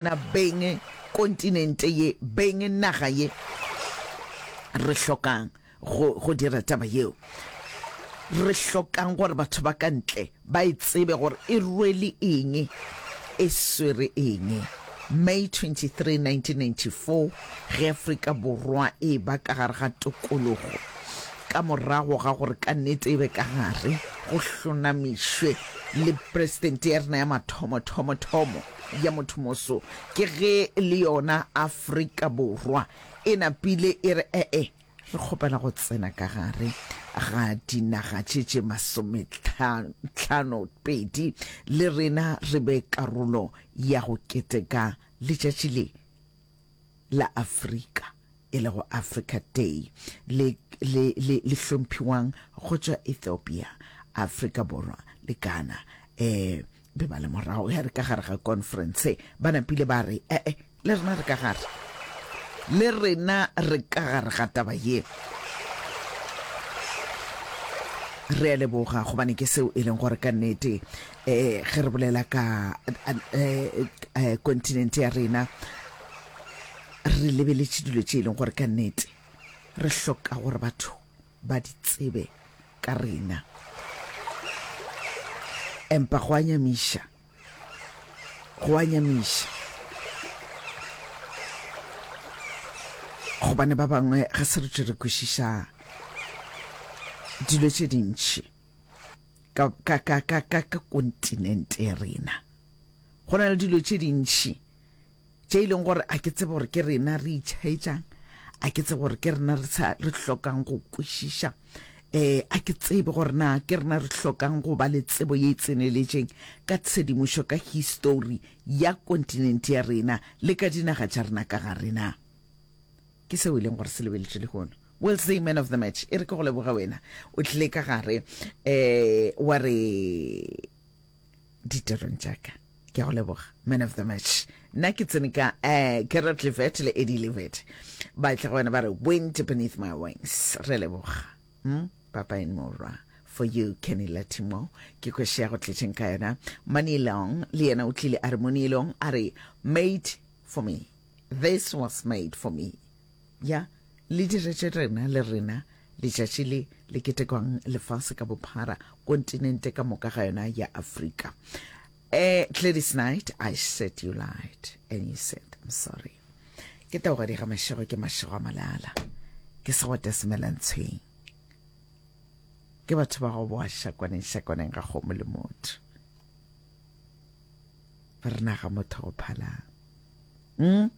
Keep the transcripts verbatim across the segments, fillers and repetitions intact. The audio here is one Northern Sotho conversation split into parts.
Na beng kontinente ye, beng naga ye, re hlokang go, go dira taba yeo? Re hlokang gore batho ba ka ntle ba e tsebe gore e rwele eng, e swere eng. May twenty-three, nineteen ninety-four, ge Afrika Borwa e eba ka gare ga tokologo, ka morago ga gore ka nnete e be ka gare, go hlonamišwe le presidente ya rena ya mathomo-thomo-thomo ya mothomoso, ke ge le yona Afrika Borwa e napile e re, E-e, re kgopela go tsena ka gare ga dinaga tše tše masometlhano-pedi, le rena re be karolo ya go keteka letšatši le la Afrika, e lego Africa Day, le, le, le, le hlomphiwang go tšwa Ethiopia, Afrika Borwa le Ghana. E, be ba le morago ya re ka gare ga conference, ba napile ba re, E-e, le rena re ka gare. Le rena re ka gare ga taba ye. Re a leboga, gobane ke seo e leng gore ka nnete, e, ge re bolela ka, e, e, kontinente ya rena, re lebeletše dilo tše e leng gore ka nnete re hloka gore batho ba di tsebe ka rena. Empa go a nyamiša, go a nyamiša, gobane ba bangwe ga se re tšwe re kwešiša dilo tše dintši ka, ka, ka, ka, ka, ka kontinente ya rena. Go na le dilo tše dintši tše e leng gore a ke tsebe gore ke rena re itšhaetšang, a ke tsebe gore ke rena re sa, re hlokang go kwešiša, eh, a ke tsebe gore na ke rena re hlokang go ba le tsebo ye e tseneletšeng ka tshedimošo, ka histori ya kontinente ya rena le ka dinaga tša rena ka gare na. Ke seo e leng gore se lebeletšwe lehono. We'll see, man of the match, e re ke go leboge wena o tlile ka gare, eh, wa re ditirong tša ka. Ke a go leboga, man of the match. Nna ke tsene ka, eh, Gerard Levet le Eddie Levet ba tla go wena ba re wind beneath my wings. Re leboga, hmm? Papa and Morwa for you, Kenny Latimo, ke kwešea go tletšeng ka yona. Manilong le yena o tlile a re, Monilong a re made for me, this was made for me. Ya le diretše rena le rena letšatši le le ketekwang lefase ka bophara, kontinente ka moka ga yona ya Afrika. Eh, Gladys Knight, I said you lied and you said I'm sorry. Ke taogadi ga mašego, ke mašego a malala, ke segwata semelantshweng, ke batho ba go boa šakwaneng šakwaneng ga kgomo le motho, ba re naga motho go phalang. Mm?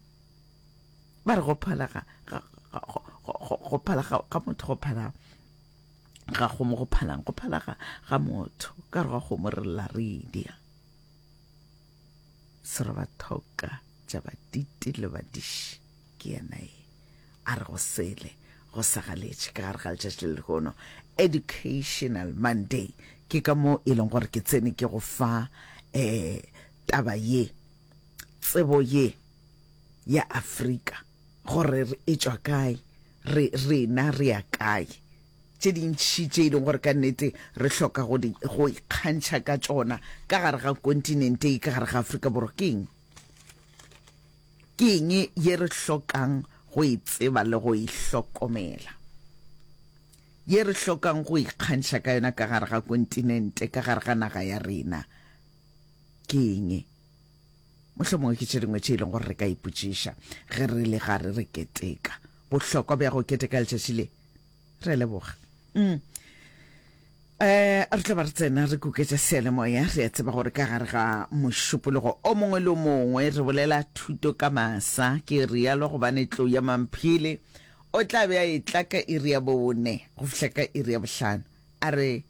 Ba re go phala ga, ga, ga, go, go, go phala ga, ga motho go phala ga kgomo go phalang, go phala ga, ga motho ka re ga kgomo re lla re dia. Serobathoka tša baditi le badiši ke yena e a re go sele go sa galetše ka gare ga letšatši le lehono, Educational Monday. Ke ka mo e leng gore ke tsene ke go fa, eh, taba ye, tsebo ye ya Afrika, gore re e tšwa kae, re rena re ya kae, tše dintši tše e leng gore ka nnete re hloka go di, go ikgantšha ka tšona ka gare ga kontinente ye, ka gare ga Afrika Borwa. Ke eng? Ke eng ye re hlokang go e tseba le go e hlokomela, ye re hlokang go ikgantšha ka yona ka gare ga kontinente, ka gare ga naga ya rena? Ke eng? Mohlomongwe ke tše dingwe tše e leng gore re ka ipotšiša ge re le gare re keteka bohlokwa bja go keteka letšatši le. Re a leboga. Mm. Eh, re tla ba re tsena re kuketša seyalemoya. Re a tseba gore ka gare ga mošupologo o mongwe le o mongwe re bolela thuto ka masa. Ke rialo gobane tlou ya Mamphele o tla be a etla ka iri ya bone go fihla ka iri ya bohlano. A re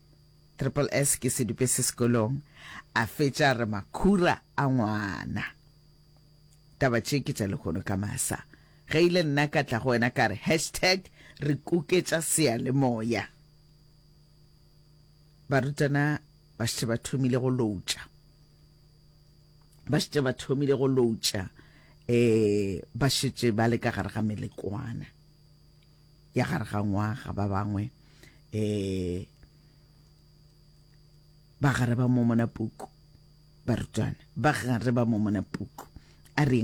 Triple S ke sedupe se sekolong, a fetša a re makhura a ngwana. Taba tše ke tša lehono ka masa. Ge ile nna ka tla go wena ka re hashtag re kuketša seyalemoya. Barutwana ba šetše ba thomile go loutša, ba šetše ba thomile go loutša, eh, ba šetše ba le ka gare ga melekwana ya gare ga ngwaga. Ba bangwe, eh, ba gare ba momona puku, barutwana ba gare ba momona puku. A reng?